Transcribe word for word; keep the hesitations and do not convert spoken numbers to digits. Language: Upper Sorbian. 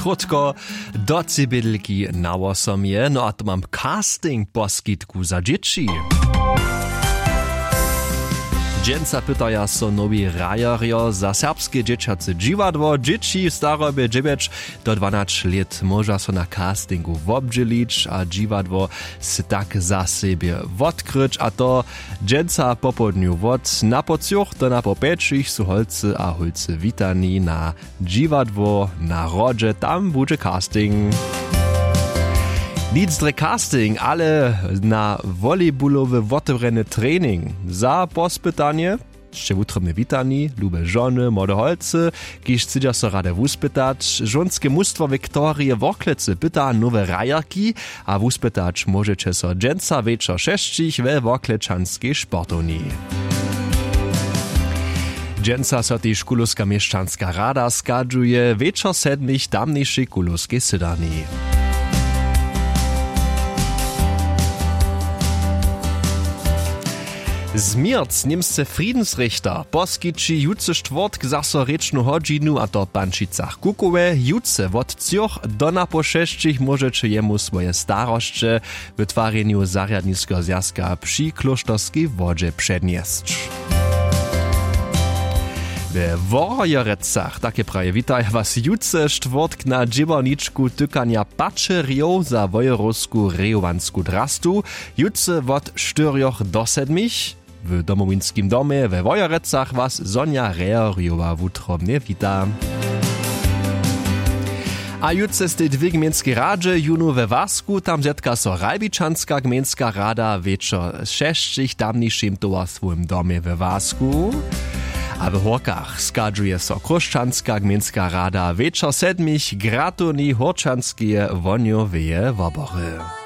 Krótko, do cibědlki na wosomje, no a to mam casting poskitku za dźěći. Dźensa pytaja so nowi hrajerjo za serbske dźěćace dźiwadło. Dźěći w starobje dźewjeć do dwanaće lět móža so na castingu wobdźělić a dźiwadło sej tak za sebje wotkryć, a to dźensa popołdnju wot napoł třoch do napoł pjećich su holcy a hólcy witani na dźiwadło na hrodźe, tam budźe casting. Nic drje casting, ale na volejbulowy wotewrjeny trening za pospytanje sće wutrobnje witani, lube žony, młode holcy, kiž chcedźa so rady wuspytać. Žonske mustwo wiktorije worklecy pyta nowe hrajerki a wuspytać móžeće so dźensa wječor šesćich we worklečanskej sportowni. Dźensa so tež kulowska měšćanska rada schadźuje wječor sedmich tamnišej kulowskej sydarni. Změrc němsce friedensrichter poskići jutře štwórtk zaso rěčnu hodźinu a to w pančicach kukowe jutře wot třoch do napoł šesćich móžeće jemu swoje starosće w twarjenju zarjadniskeho zwjazka při klóšterskej wodźe přednjesć. We wojerecach take praje witaja was jutře štwórtk na dźěłarničku tykanja pačerjow za wojerowsku rejowansku drastu. Jutře wot štyrjoch do sedmich w domowinskim domje we wojerecach was sonja reherjowa wutrobnje wita. A jutře stej dwě gmejnskej radźe jónu we wasku tam zetka so ralbičanska gmejnska rada wječor šesćich w tamnišim towarstwowym domje we wasku. A w hórkach schadźuje so chróšćanska gmejnska rada wječor sedmich w gratowni hórčanskeje wohnjoweje wobory.